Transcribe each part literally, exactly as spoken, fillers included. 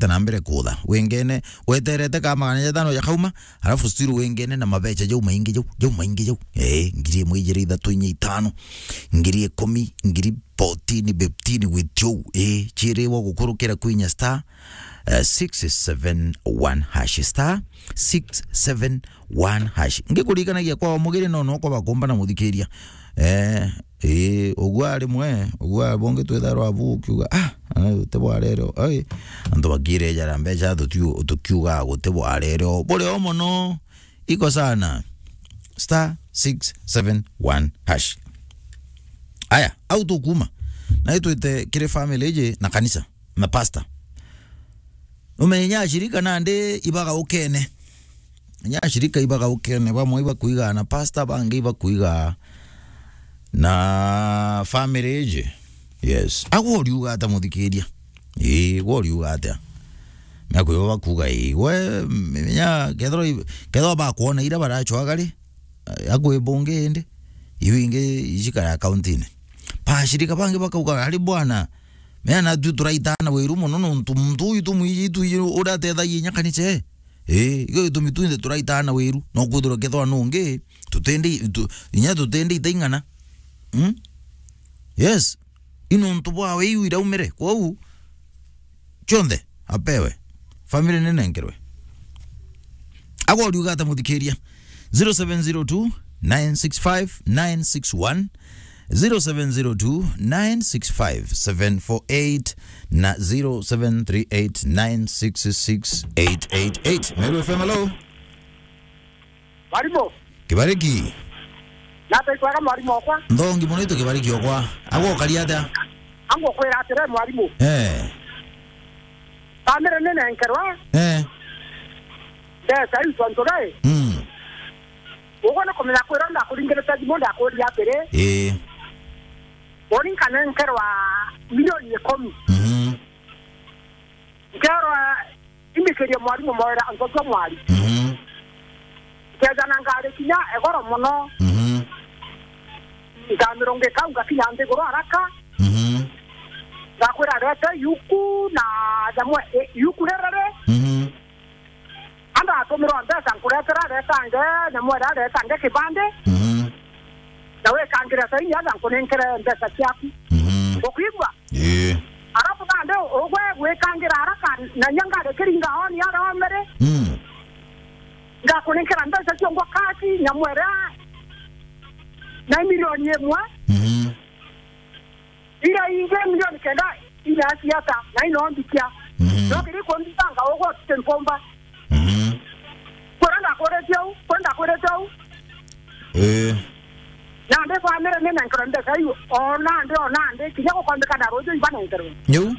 na mbere kutha. Wengene, weterete ka magana jatano jakauma, alafu still wengene na mabecha jau maingi jau, jau maingi jau. Eh, ngiri imwe, ijiri, ithatu, inya, itano, ngiri ikumi, ngiri fourteen, fifteen with you. Eh, chiriwa gukurukira kwinya star, eh, six seven one hash, star six seven one hash. Ngikurikanagia kwa mugire no no kwa bakomba na muthikiria. Eh, eh, ugwa rimwe, ugwa bonge twetharwa abu ukiuga, "Ah, ana te bwarero." Ai, antu bakire jara mbecha tutiu-, tukiuga gute bwarero. Bure o mono, iko sana. Star six seven one hash. Aya, au tukuma. Na itwite kiri family iji na kanisa, na pastor. Umenye ashirika nandi ibagaukene. Inya ashirika ibagaukene, bamwe ibakuiga na pastor, bangi ibakuiga na family iji. Yes. Agwo uriuga ata muthikiria? Ii, gwo uriuga atia? Mea kwibo bakuga ii. We, menya, kethirwa i-, kethirwa bakwona ira barachwaga ri, akwi bungi indi, iu ingi icikara akaunti-ini. Bashirika bangi bakauga, "Ari bwana, mea na tu turaitana wiru mono nontu muntu uyu tumwiji tu uria atethagia inya kanisa ee." Ii, igio gitumi tu inthe turaitana wiru, no kwithirwa kethwa nungi, tutendi, tu-, inya tutendi itaing'ana. Mm? Yes. I nontu bwawe iu iraumire. Kwou, cionthe, apewe. Family ninenkerwe. Agwo uriuga ata muthikiria? Zero seven zero two, nine six five, nine six one, zero seven zero two, nine six five, seven four eight na zero seven three eight, nine six six, eight eight eight. Meru F M, hello? Mwarimu. Kibariki. Nate kwega mwarimu okwa. Nthongi mono itu Kibariki okwa. Agwo ukari atia? Angu kwira atire mwarimu. Eh. Family ninenkerwa. Eh. Mbeca iu tontu gai. Mm. Uguo ni kumenya kwira ndakuringirite thimu ndakuria atiri. Ii. Uni nkanenkerwa milioni ikumi. Mhm. Nkerwa, imbikirie mwarimu mawira antu acio mwari. Mhm. Nkethana ngari kinya egoro mono. Mhm. Nkamirungika ngakinya nthiguru haraka. Mhm. Ngakwira rete yuku na jamu, e, yuku rerere. Mhm. Anda atumirwa mbeca nkuretera retange, na mwera retange kibande. Mhm. Na wikangire saini, aja nkunenkere mbeca ciaku. Mhm. Ukwigua? Ii. Arafu nandi ugwe gwikangira haraka, na nya ngari kiringa honi aria omere. Mm. Ngakunenkera mbeca cio ngwa kaci, na mwera na milioni imwe. Mhm. Ira ingi milioni kenda ina ciata, na ino mbikia. Mhm. No kiri kumbitanga ugo tutimpomba. Mhm. Kwenda ndakwirite u, kwenda ndakwirite u. Eh. Nandi family ninenkerwa mbeca iu, o nandi, o nandi, kinya gukombeka na ruju ibanenkerwe. Niu?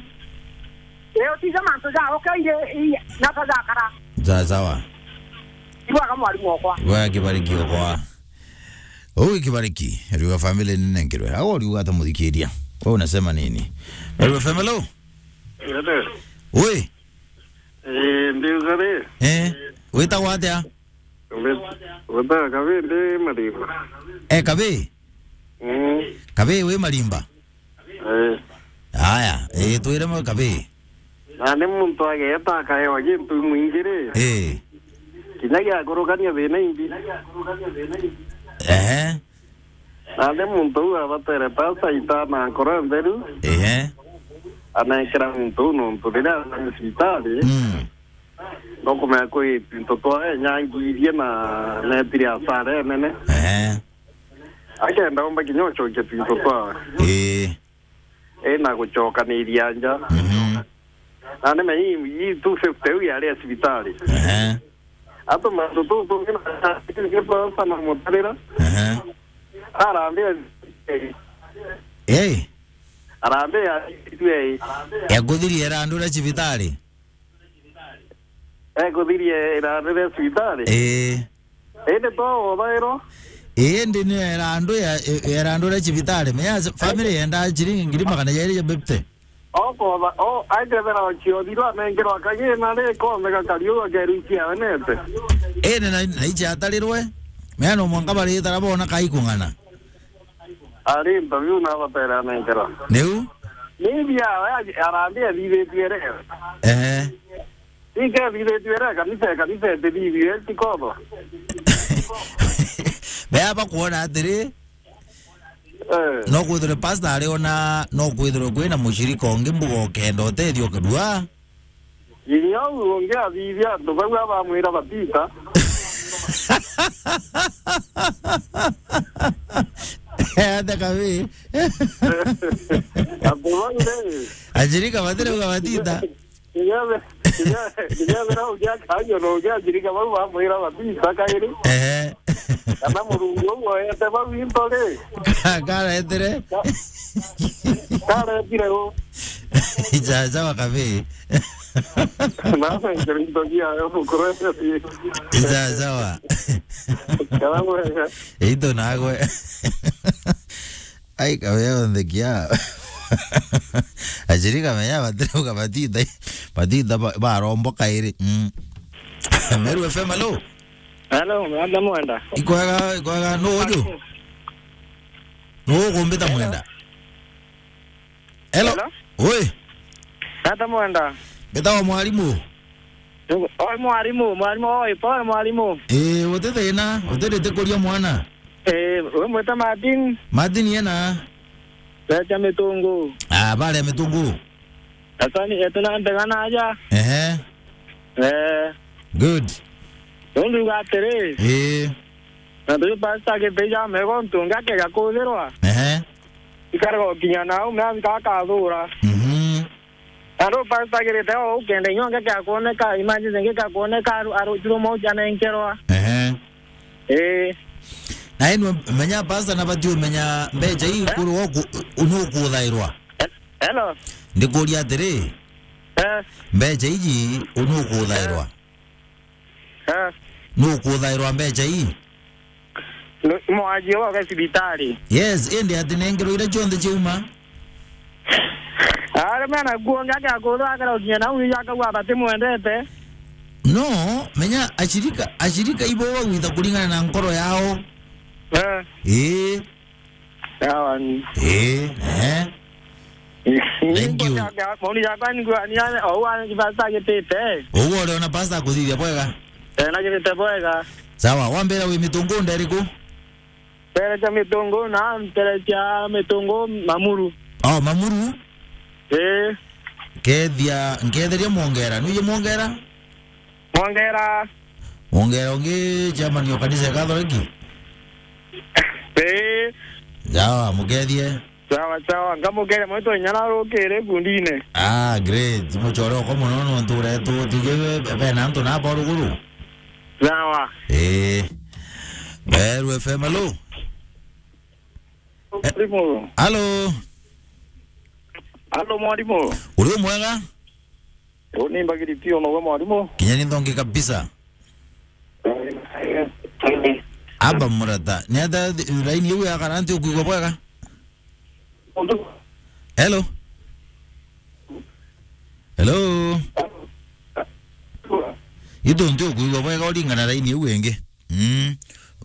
Ee, utija mantu ja ukeire, i, nata jakara. Sawa, sawa. Ibwaga mwarimu okwa. Ibwaga Kibariki okwa. Uu Kibariki, ariuga family ninenkerwe. Au ariuga ata muthikiria? Wewe unasema nini? Meru F M, hello? Hello. Oi. Eh, ndiuga ri. Eh, witagwa atia? Wit-, witagwa Kabi ndi Marimba. Eh, Kabi? Mm. Kabi wi Marimba? Eh. Aya, eh, twire mo Kabi. Na ni muntu ageta akaewa gintu mwingi ri. Eh. Kinya gia kurugania thina imbi. Ehe. Na ni muntu uu abatere pasta itana nkoro ntheru. Ehe. Anekera muntu uu nontu riria athami cibitari, mm, no kumenya kwi twinto twa enyangirie na netire asara enene. Ehe. Akenda omba kinya ucokia twinto twa. Ii. Ina gucokaniria nja. Mhm. Na ni mei, ii two fifty iu yari ya cibitari. Ehe. Atu mantu tu tungi na tungi twa sana mutarira. Ehe. Arambia, eh. Arambia, eh. Ekuthirie irandu ria cibitari? Ekuthirie irandu ria cibitari? Ii. Indi to wothairwo? Ii, indi ni irandu ya, ya irandu ria cibitari. Menya family yenda ciringi ngiri magana jairi ja fifty. Okotha, o, aikethera okiothirwo anengerwa kagina ri, konthe gakariu gakeru ikiawe nete. Indi na, na ichi atarirwe, menya no mwanka baritara bona kai kung'ana. Ari interview na abatere anengerwa. Niu? Ni bia we arambi ethithitue re. Ehe. Ike ethithitue re, kanisa, kanisa etithithie, ti kotho. Bea bakwona atiri, eh, no kwithirwe pastor ari ona, no kwithirwe kwina mushirika ungi mbuga ukenda utethio kirua. Inya u ungi athithia antu bau abamwira batita. Enda kabi. Antu bau ri. Ashirika batirauga batita. Kinya be-, kinya, kinya bera ugia kanyo no ugia ashirika bau bamwira batita kairi. Ehe. Kana Murungu uyu woete bau into ri? Ka-, kareetire? Ka-, kareetire u? Ijajawa kabi. Na into gia yo mukuru. Ijajawa. Kana mwega. Ito nagwe. Ai, kabe yonthe kia. Achiri kamenya batirauga batita, batita ba-, barombo kairi. Mm. Meru F M, hello. Hello, Mwenda Mwenda. Ikwega, ikwega, nu uju? Nu ukumbita Mwenda? Hello. Hello? Oi. Nata Mwenda. Mbitawa mwarimu. Oi, mwarimu, mwarimu, oi, pole, mwarimu. Eh, uti thina, utirite kuria mwana. Eh, we mwita Martin? Martin yena? Becha Mitungu. Ah, bare Mitungu. Atani, etena ndegana aja. Ehe. Eh. Good. Nondu uga atiri. Eh. Na ndu pastor gitija mego ntunga kega kuthirwa. Ehe. Ikarega gukinya nau, me abika akathura. Mhm. Na ndu pastor agirite o ukenda inyonge kia kuoneka, emergency ngi kia kuoneka, aru-, arutirwo mauti anenkerwa. Ehe. Ii. Na inu menya pastor na bati umenya mbecha ii kuru oku, unu ukuthairwa. Hello. Ndikuria atiri, eh, mbecha iji unu ukuthairwa. Eh. Nu ukuthairwa mbecha ii? Nu-, mwajie woke cibitari. Yes, indi ati nengerwa iria cionthe ciauma? Ari mena kuo ngake akutha akara ukinya nau iria akauga batimwendete. No, menya ashirika, ashirika ibo bagwita kuringana na nkoro yao. Eh. Ii. Sawa ni. Eh, eh. Thank you. Maoni jakwa ni gwa ni ane, o wa ni pastor agitite. Uguo uriona pastor akuthithia bwega? Eh, na agitite bwega. Sawa, wambira wi Mitungu nda iriku? Nterecha Mitungu na nterecha Mitungu Mamuru. Oh, Mamuru? Eh. Kethia, nketheria Mwongera. Nuye Mwongera? Mwongera. Mwongera ungi chairman wa kanisa ya Katholiki? Ii. Sawa, mukethie. Sawa, sawa. Nkamukeria mwitu inya narukire kundine. Ah, great. Muchore uko muno nontu uretu tije bena antu na bo ruguru. Sawa. Ii. Meru F M, hello? Mwalimu. Hello. Hello, mwalimu. Uri mwega? Uni mbagiri tio nowe mwalimu. Kinya ni nthongi kabisa. Aba murata. Ni ata thi-, raini iu ya kana nti ukuigua bwega? Hello? Hello? Itu nti ukuigua bwega uringana raini iu ingi. Mm.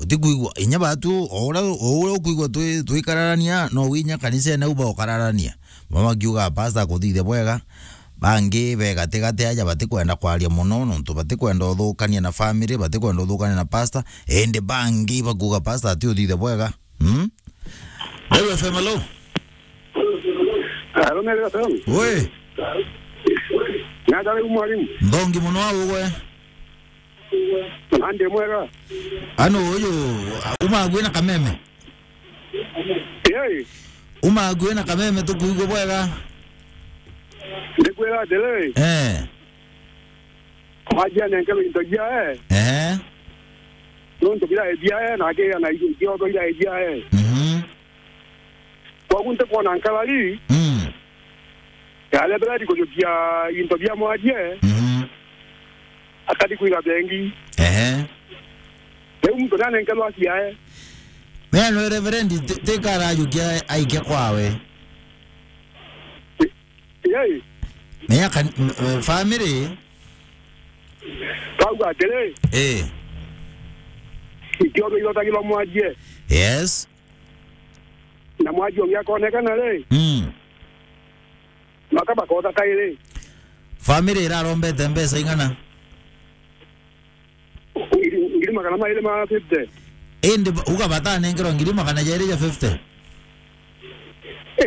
Utikwigua inya batu, o uria, o uria ukwigua twi-, twikararania, no winya kanisene au baukararania. Bamwe bakiuga pastor akuthithia bwega, bangi be gatigati aja batikwenda kwaria muno, nontu batikwenda uthukania na family, batikwenda uthukania na pastor, indi bangi bakuuga pastor ati uthithia bwega. Mm? Meru F M, hello? Hello, Meru F M. Oi. Nata riu mwalimu? Nthongi muno au gwe. Andi mwega? Ano uyu, uma akui na kameme? Yei. Uma akui na kameme tukuigua bwega. Ndikwira atiri. Eh. Mwajia nenkerwe into biae. Eh. Nontu birae biae, na akigia na irio ciothe irae biae. Mhm. Koguo ntikwona nkarari. Mm. Yaria birari kujukia into bia mwajie. Mhm. Akari kwiga bengi. Ehe. Riu muntu nanenkerwa ciae. Mea no reverend, ti-, tikara ajukia aike kwawe. Yei. Menya kan-, m-, eh, family. Kauga atiri. Eh. Ikiondo irotagirwa mwajie. Yes. Na mwaji ungi akonekana ri? Mm. Maka bakotha kairi. Family irarombete mbeca ing'ana? Ngiri, ngiri magana mairi ma fifty. Indi ba-, uga batanengerwa ngiri magana jairi ja fifty?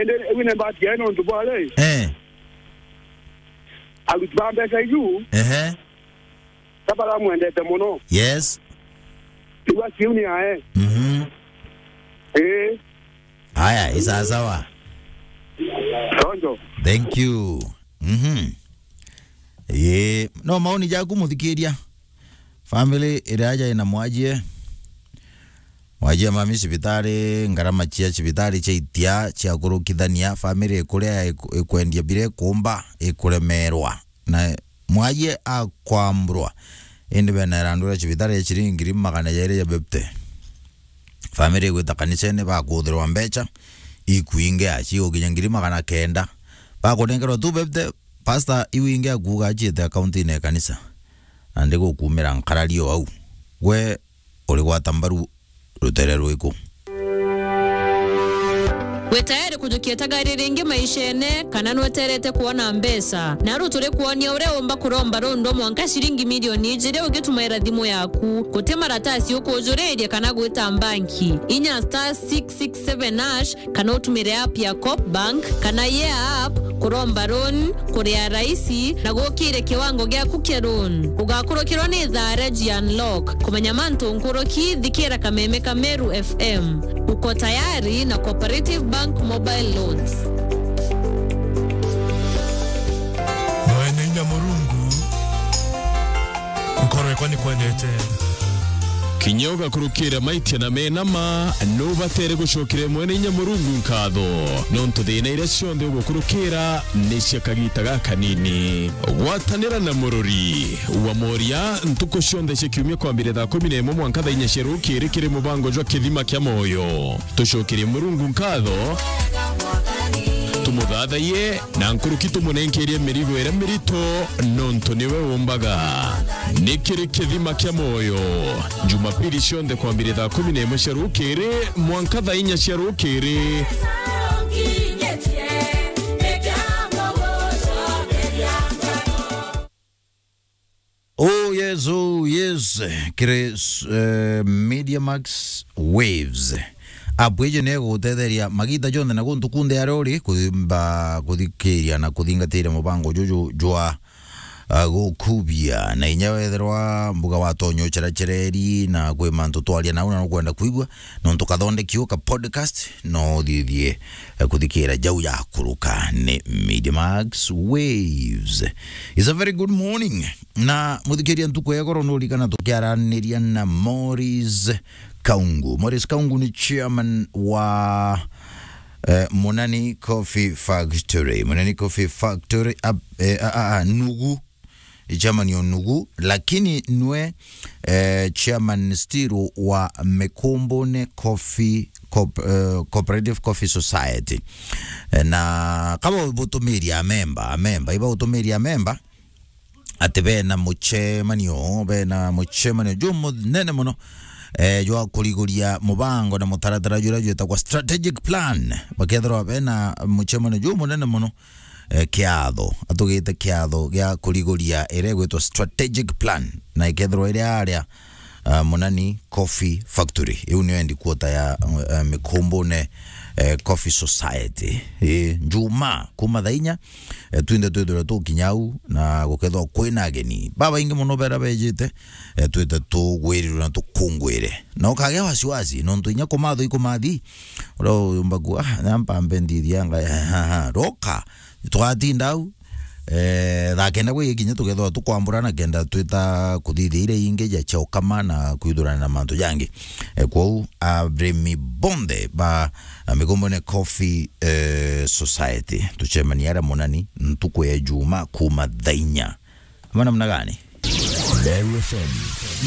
Indi iu ni mbati yae nontu bwari. Eh. Aruti ba mbeca iu. Ehe. Ka baramwendete mono. Yes. Igua kiu ni ae. Mhm. Ii. Aya, i sawa sawa. Tonjo. Thank you. Mhm. Ii, no maoni jaku muthikiria? Family iria aja ina mwajie. Mwajie mami cibitari, ngarama cia cibitari cia itia cia kurukithania, family ikuria iku-, ikwendia bire kumba, ikuremerwa. Na mwajie akwamburwa, indi bena irandu ria cibitari ya ciringi ngiri magana jairi ja fifty. Family igwita kanisene, bakuthirwa mbeca ikwingi, aci gukinya ngiri magana kenda. Bakunengerwa tu fifty, pastor iu ingi akuuga aciite akaunti-ini ya kanisa. Na ndigukumira nkarario au. Gwe urigwata mbaru rutere rwiku? Wi tayari kujukia itagari ringi maishene, kana nweterete kwona mbeca? Naru turi kwonia uria umba kuromba rundu mwanka ciringi milioni ijiri ugitumaira thimu yaku. Guti maratasi ukujuriria kana gwita mbanki. Inya star six six seven hash kana utumire app ya Coop Bank kana Yeah app kuromba loan, kuria raisi na gukire kiwango giaku kia loan. Ugakurukirwa ni thaa ria G Unlock. Kumenya mantu nkuruki, thikira kameme ka Meru F M. Uko tayari na Cooperative Bank Mobile Loans. Mwene inya Murungu, nkoro yakwa nikwendete. Kinya ugakurukira maitia na mena ma, nubatere gucokera Mwene inya Murungu nkatho, nontu thina iria cionthe ugukurukira ni cia kagita gakanini. Gwatanira na murori wa moria ntuku cionthe cia kiumia kwambire thaa kumi na imwe mwanka thaa inya cia rukiri kiri mubango jwa Kithima kia Moyo. Tucokerie Murungu nkatho, tumuthathaiye, na nkuruki tumunenkerie mirigo iria mirito, nontu niwe umbaga. Ni kiri Kithima kia Moyo, Jumapili cionthe kwambire thaa kumi na imwe cia rukiri mwanka thaa inya cia rukiri. Oh yes, oh yes. Kiri, eh, Media Max Waves. App iji ni igugutetheria magita jonthe na guntu kunthe aria uri kuthimba, kuthikiria na kuthingatiria mubango juju jwa, ah, gukubia. Na inya wethirwa mbuga watonya uceracereri na kwi mantu twaria nau na nukwenda kwigua, nontu kathondeki u ka podcast, no uthithie, eh, kuthikira jau yakuruka ni Media Max Waves. It's a very good morning. Na muthikiria, ntuku ya goro nurikana tukiaraniria na Morris Kaungu. Morris Kaungu ni chairman wa, eh, Munani Coffee Factory. Munani Coffee Factory, ab-, eh, a, a, a, Nugu. Chairman o Nugu, lakini nwe, eh, chairman still wa Mikumbune Coffee Coop-, eh, Cooperative Coffee Society. Eh, na kaba butumiria amemba, amemba, iba utumiria amemba, ati bena mucemanio, bena mucemanio jumunene muno, eh, jwa kuriguria mubango na mutaratara juria jwitagwa strategic plan. Bakethirwa bena mucemanio jumunene muno, eh, kiatho, atugite kiatho gia kuriguria iria igwitwa strategic plan, na ikethirwa iri aria, ah, Munani Coffee Factory. Iu niyo headquarter ya, eh, Mikumbune, eh, Coffee Society. Ii, Njuma kuma thaa inya, eh, twinthe twithirwe tukinya au, na gukethirwa kwina ageni babaingi muno bera bejite, eh, twite tugwirirwe na tukungwire. Na ukagea wasiwasi, nontu inya kumathwa ikumathi, uria uyumba ku, ah, na mpambe ndithianga, roka, twatinda au, eh, thaa kenda gwikinya tukethirwa tukwambura na kenda twita kuthithia iria ingi ja cha ukama na kwithurana na mantu jangi. Eh, kwou, arimi bonthe ba, ah, Mikumbune Coffee, eh, Society, tucemanie aria Munani ntuku ya Juma kuma thaa inya. Ama namna gani? Meru F M.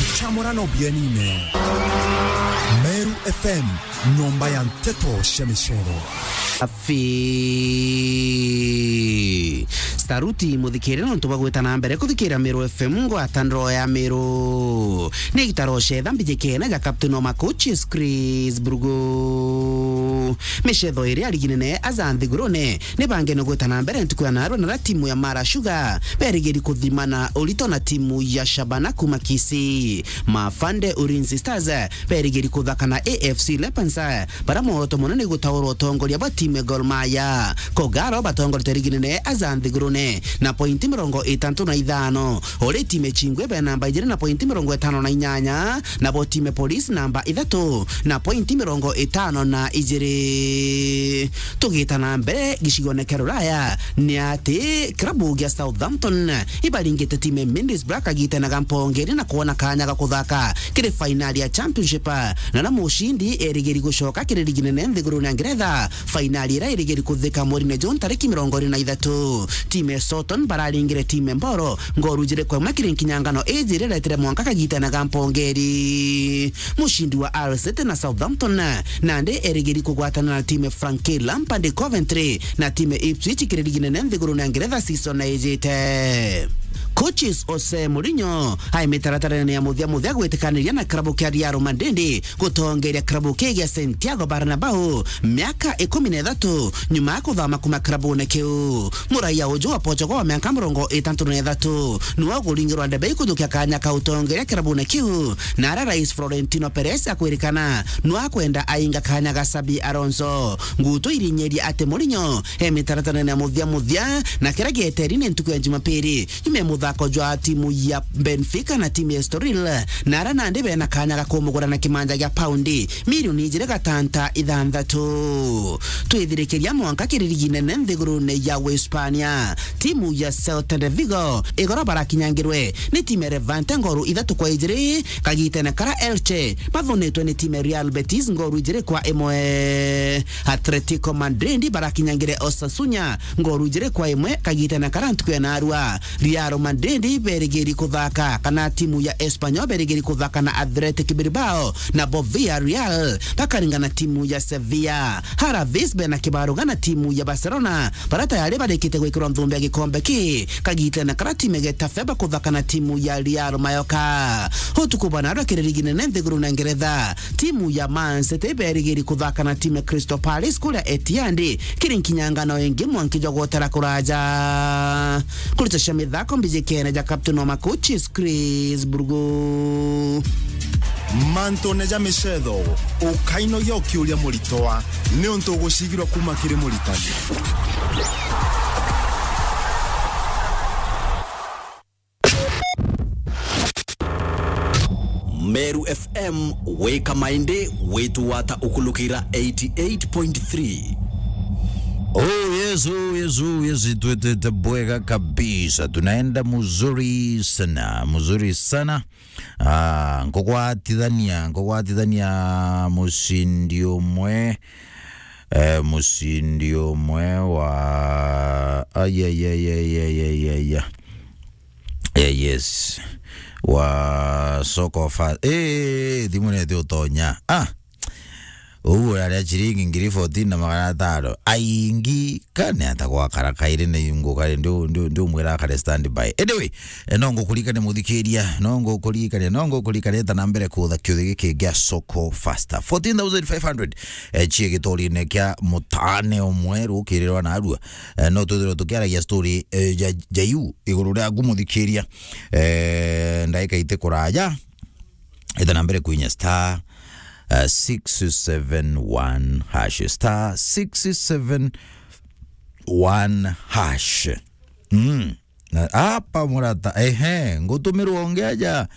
Nchamurano bienine. Meru F M, nyomba ya nteto cia micero. Afi. Saruti muthikire nontu bwa gwita na mbere kuthikira Meru F M, ngwata ndoro ya Meru. Ni gitaro cetha mbijikene ja Captain Omakochi Chris Brugo. Micetho iria ligi nene aja nthigurune ni bangene gwita na mbere ntuku ya narua, na ra timu ya Mara Sugar berigiri kuthimana urito na timu ya Shabana kuma Kisii. Mafande Ulinzi Stars berigiri kuthaka na A F C Leopards, bara mworoto munene gutaurwa utongoria bwa timu ya Gor Mahia. Kogalo batongoretie ligi nene aja nthigurune na pointi mirongo itantu na ithano. Uri timu ya Chingwe be namba ijiri na pointi mirongo itano na inyanya, nabo timu ya Police namba ithatu na pointi mirongo itano na ijiri. Tugita na mbere gicigone kia Ruraya, ni ati kirabu gia Southampton ibaringite timu ya Middlesbrough kagitene ga mpongeri na kwona kanya ga kuthaka kiri fainali ya Championship, na na mucindi erigiri gucoka kiri ligi nene nthigurune ya Ngeretha, fainali iria irigiri kuthika mweri-ini June tariki mirongo iri na ithatu. Timu ya Southampton bararingire timu ya Mboro ngoru ijiri kwa imwe kiri nkinyangano iji iria iretire mwanka kagitene ga mpongeri. Mucindi wa Hull City na Southampton nandi erigiri kugwatana na timu ya Frank Lampard Coventry na timu ya Ipswich kiri ligi nene nthigurune ya Ngeretha season ijite. Coaches Jose Mourinho ai mitaratarene ya muthia muthia gwitikaniria na kirabu kia Real Madrid gutongeria kirabu kii gia Santiago Bernabeu miaka ikumi na ithatu nyuma ya kuthama kuma kirabune kiu. Muraia uju wa Portugal wa miaka mirongo itatu na ithatu niwe uguringirwa ndebe ikuthukia kanya ka utongeria kirabune kiu, na aria rais Florentino Perez akwirikana niwe akwenda ainga kanya ga Xabi Alonso. Ngutu irinyeria ati Mourinho e mitaratarene ya muthia muthia, na kiria gieteri ni ntuku ya Jumapili nyuma ya muthako jwa timu ya Benfica na timu ya Estoril, na aria nandi bena kanya ga kumugura na kimanja gia paundi milioni ijiri gatanta ithanthatu. Twithirikiria mwanka kiri ligi nene nthigurune ya Uhispania, timu ya Celta de Vigo igoro barakinyangirwe ni timu ya Levante ngoru ithatu kwa ijiri, kagitene kara Elche bathunitwe ni timu ya Real Betis ngoru ijiri kwa imwe. Atletico Madrid barakinyangire Osasuna ngoru ijiri kwa imwe, kagitene kara ntuku ya narua. Real Madrid berigiri kuthaka, kana timu ya Espanyol berigiri kuthaka na Athletic Bilbao, nabo Villarreal bakaringa na timu ya Sevilla. Alaves bena kibaruga na timu ya Barcelona, bara tayari barikite gwikirwa nthumbe ya gikombe ki, kagitene kara timu ya Getafe bakuthaka na timu ya Real Mallorca. Utuku bwa narua kiri ligi nene nthiguru na Ngeretha, timu ya Man City berigiri kuthaka na timu ya Crystal Palace kuria Etihad, kiri nkinyangano ingi mwanki jwa gwotera kuraja. Kurita cia mithako mbiji kene ja captain wa makochi Chris Burgu. Mantune ja micetho, ukainogia ukiuria muritwa, niuntu ugucigirwa kuma kiri muritani. Meru F M, wika maindi, witu wata ukulukira eighty-eight point three. Oh, yes, oh, yes, oh, yes, twetete bwega kabisa. Tunaenda mzuri sana, mzuri sana. Ah, nkugwatithania, nkugwatithania mucindi umwe, eh, mucindi umwe wa, ai, ai, ai, ai, ai, ai, ai, ai. Eh, yes. Wa soko fa-, eh, thimu neti utonya. Ah. Uu uraria ciringi ngiri fourteen na magana atano. Aingi kane ata gwakara kairi ni ngukari, ndi, ndi, ndi umwira akare standby. Anyway, eh, no ngukurikania muthikiria, no ngukurikania, no ngukurikania ta na mbere kutha kiuthi giki gia soko faster. Fourteen thousand five hundred, eh, cie gitorine kia mutane umwe rukirirwa na arua. Eh, no twithirwe tukiaragia story, eh, ja, ja yu iguru riaku muthikiria. Eh, ndaika iti kuraja, ita na mbere kuinya star, eh, six seven one hash, star six seven one hash. Mm. Na apa murata, ehe, ngutumirwa ungi aja,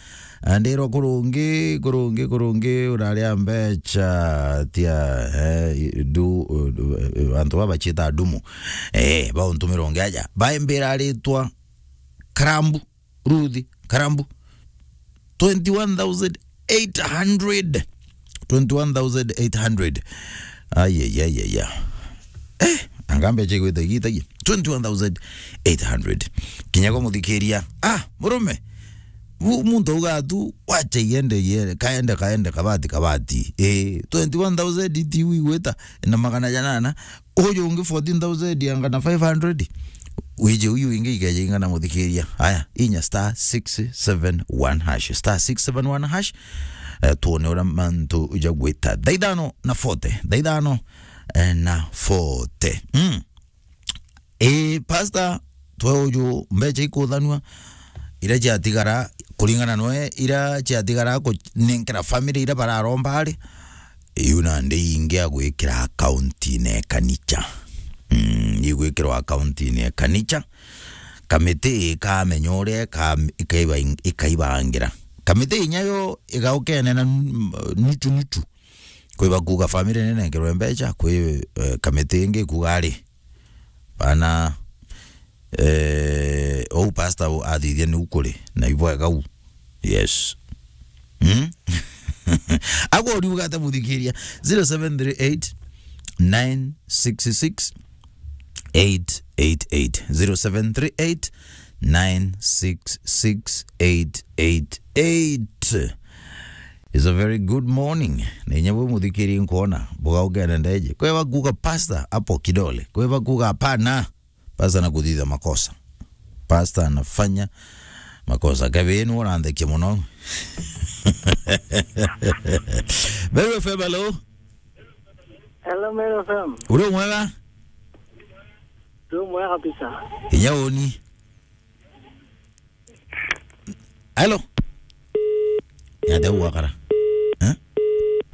ndirwa kurungi, kurungi, kurungi, uraria mbecha, tia, eh, du, eh, antu baba ciita ndumu. Eh, bauntumirwa ungi aja, baimbira ritwa Karambu, Ruthi, Karambu. Twenty-one thousand eight hundred. Twenty-one thousand eight hundred. Ai, ai, ai, ai, ai. Eh, anga mbecha igwita igitagia. Twenty-one thousand eight hundred. Kinya kwa muthikiria. Ah, murume. Mu-, muntu auga tu, wacha iende, iende, kaende, kaende, kabati, kabati. Eh, twenty-one thousand iti igwita na magana janana. Uyu ungi fourteen thousand anga na five hundred. Wije uyu ingi ikeje ingana muthikiria. Aya, inya star six seven one hash. Star six seven one hash. Eh, tuone uria mantu jagwita. Thaa ithano na forty. Thaa ithano eh, na forty. Mm. Ii, pastor, twe uju mbecha ikuthanua, iria ciatigara, kuringana noe, iria ciatigara kunenkera family iria bararomba ari, iu nandi ingi agwikira account-ini ya kanicha. Mm, igwikirwa account-ini ya kanicha. Kamiti ikamenya uria ika-, ikaiba-, ikaibangira. Kamiti inya yo igaukene na n-, nuchu nuchu. Kwi bakuga family ninenkerwe mbecha, kwi, eh, kamiti ingi ikuga ari, bana, eh, ou pastor u athithia niu kuri, na ibwega u. Yes. Hmm? Agwe uriuga ata muthikiria? Zero seven three eight, nine six six, eight eight eight. Zero seven three eight, nine six six, eight eight eight. It's a very good morning. Na inya bwe muthikiri nkuona, buga ugene ndeje. Kwe bakuga pastor hapo kidole. Kwe bakuga hapana. Pastor anakuthitha makosa. Pastor anafanya makosa. Kebe ni uranthekia muno. Meru F M, hello. Hello, Meru F M. Uri mwega? Tu mwega kabisa. Inya uni. Hello. Niatia gukara? Eh?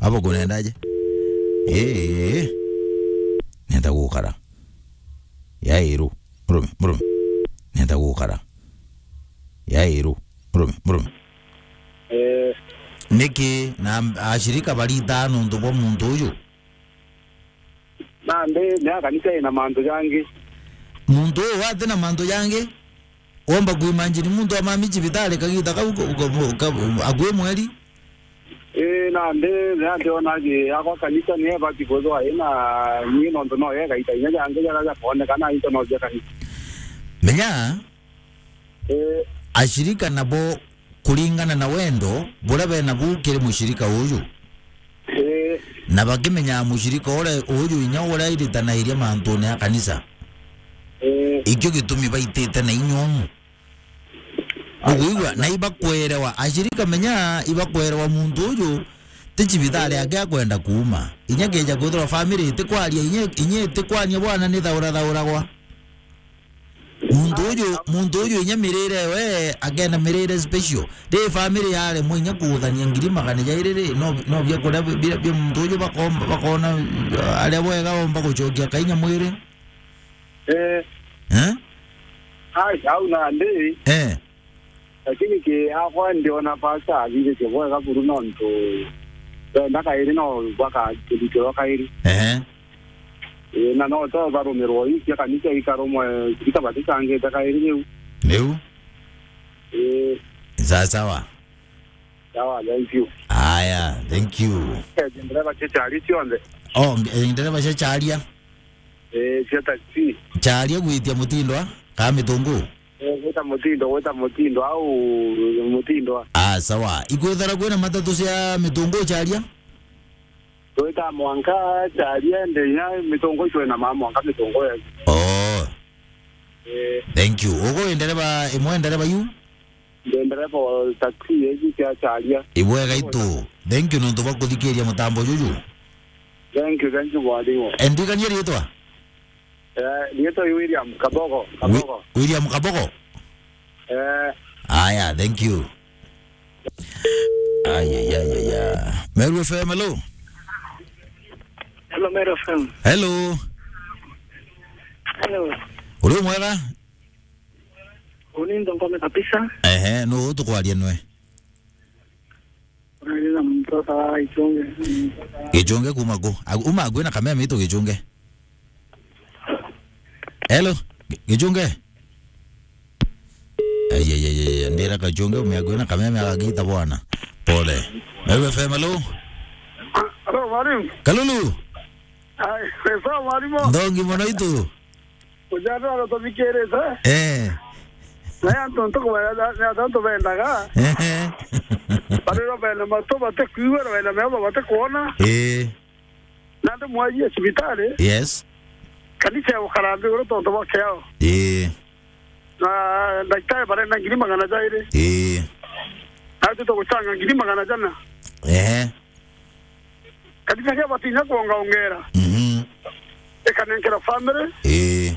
Abo kunendaje? Eh. Niatia gukara? Yairu. Murume, murume. Niatia gukara? Yairu. Murume, murume. Eh. Niki na ashirika barita nuntu bwa muntu uyu? Nandi, ni a kanisa ina mantu jangi. Muntu uu ati na mantu jangi? Womba kuimagine muntu amami cibitari kagita kau ka-, ka-, ka-, akui mweri? Ii, nandi, ni andiona ki akwa kanisa ni ebati kwithwa ina ni nontu no ye gaita inya jangi jaria jakonekana into no cia kanisa. Menya, eh, ashirika nabo kuringana na wendo buria bena bu kiri mushirika uju. Eh. Na bakimenyaa mushirika uria uju inya uria iritanairia mantune ya kanisa. Eh. Ikio gitumi baitite na inya umu. Ai, ukwigua? Ai, na ibakwerewa, ashirika menya ibakwerewa muntu uju ti cibitari, eh, ake akwenda kuuma. Inya keja kwithirwa family itikwaria, inya, inya itikwania bwana ni thaura thauragwa. Muntu uju, muntu uju inya mirire we akenda mirire special. Ri family yaremwa inya kuthania ngiri magana jairi ri, no, no bia kuria bi-, bia, bia muntu uju bakomba, bakona, uh, aria bwega omba gucokia kainya mwiri. Eh. Eh? Ai, au nandi. Eh. Lakini ki akwa ndiona pastor athithitie bwega buru nontu benda kairi no baka kirutiro kairi. Ehe. Ii, na no to barumirwo ii cia kanisa ikarumwe, ikabaticangite kairi riu. Riu? Ii. Sawa sawa. Sawa, thank you. Aya, thank you. Eh, ndereba cia chari cionthe. Oh, nge-, ndereba cia charia? Eh, cia taxi. Charia gwitia Mutindwa, ka Mitungu? Eh, gwita Mutindo, gwita Mutindo, au Mutindwa. Ah, sawa. Ikwithara kwina matatu cia Mitungu charia? Gwita mwanka charia ndi nya Mitungu icio na mama mwanka Mitungu ya. Oh. Eh. Thank you. Ugo ndereba, imwe ndereba yu? Ndi ndereba wa taxi iji cia charia. Ibwega itu. Thank you nontu bwa kuthikiria mutambo juju. Thank you, thank you, mwalimu. Eh, ndirikanie riitwa? Eh, riitwa ni William Kabogo, Wi-, Kabogo. William Kabogo? Eh. Aya, thank you. Aya, ya, ya, ya. Meru F M, hello. Hello, Meru F M. Hello. Hello. Uri mwega? Uni ndo ngome kabisa. Ehe, nu tukwaria nwe? Uri na mtoto wa Ichunge. Gichunge kuma ku? Agu-, uma agu na kameme itu Gichunge. Hello, Gi-, Gichunge. Ai, ai, ai, ai, ndira Gichunge ume agu na kameme agagita bwana. Pole. Meru F M, hello. Hello, mwalimu. Kalulu. Ai, sawa, mwalimu. Ndongi mono itu. Ujatwara tuthikirite. Eh. Na ya antu ntukwenda, ni antu bendaga. Ehe. Bariro bena matu batikwigua, na bena meetho batikwona. Eh. Na ndi mwajie cibitari. Yes. Kanisa ya gukara nthi uru tontu bwa kiao. Eh. Na ndagitari barenda ngiri magana jairi. Eh. Na tuto gucanga ngiri magana jana. Ehe. Kanisa kia batinya kuongaongera. Mhm. kanenkera family. Ii.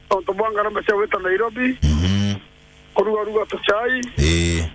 Tontu bwa ngarama cia gwita Nairobi. Mhm. Kuruga ruga tuchai. Ii.